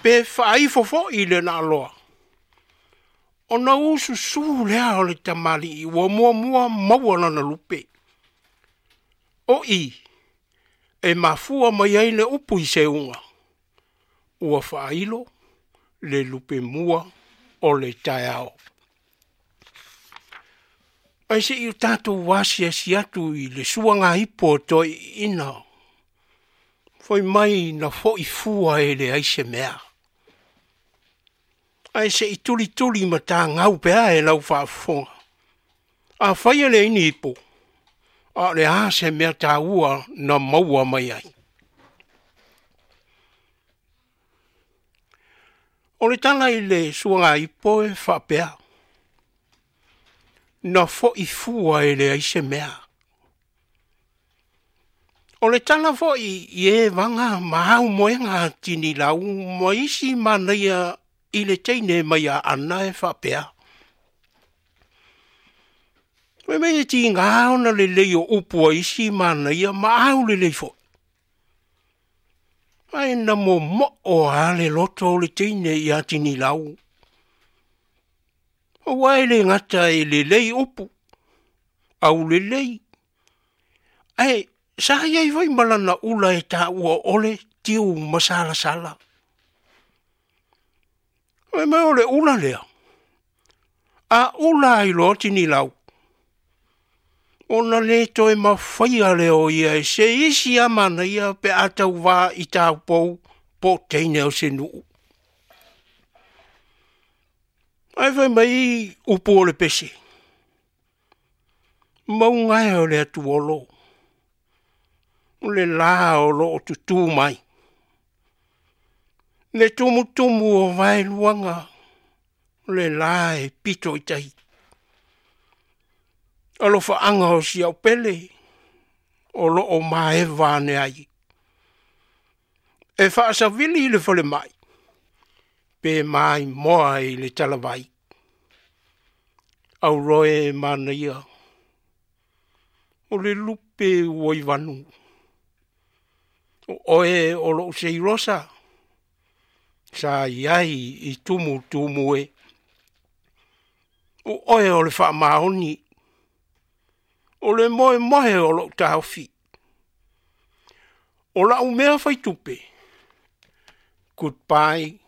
Pe faaifo foi le naaloa, ona ususū lea o le tamalii ua muamua maua lana lupe. O i, e mafua mai ai le upu i seuga, ua faailo le lupe mua o le taeao. Ae se i o tatou asiasi atu i le suagaipo o toeaiina, fai mai na foi fua e leai se mea. Ae se i tulituli matagau pea e lau faafofoga. Afai e leai ni ipo, a o le a se mea taua na maua mai ai? O le tala i le suagaipo e faapea, na foi fua e leai se mea. O le tala foi i e vaga ma aumoega a Tinilau ma isi manaia i le teine mai a Ana e faapea, Fai mai e tiga ona lelei o upu a isi manaia ma au lelei foi. Ae na momoo a le loto o le teine ia Tinilau. Aua e le gata e lelei upu, au lelei, ae sa i ai foi ma lana ula e taua o le tiu masalasala. Fai mai o le ula lea, a ula ai loa Tinilau, ona le toe mafaia lea o ia e se isi a manaia pe a tauvā i taupou po o teine o se nuu. Ae fai mai upu o le pese, mauga e o le atuolo, o le la o loo tutū mai, le tumutumu o vaeluaga, o le la e pito i tai. Alofaaga o si au pele, o loo maeva ane ai. E faasavili i le falemai, pe maimoa i le talavai. Auroe manaia, o le lupe ua i vanu. O oe o lou seilosa, sa i ai i tumutumu e. O oe o le faamaoni, o le moemoe o lou taofi. O lau mea faitupe, goodbye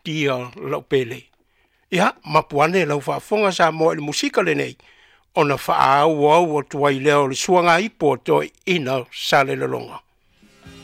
dear lau pele. Ia, mapu ane lau faafofoga Samoa i le musika lenei, ona faaauau atu ai lea o le suagaipo a toeaiina Salelologa.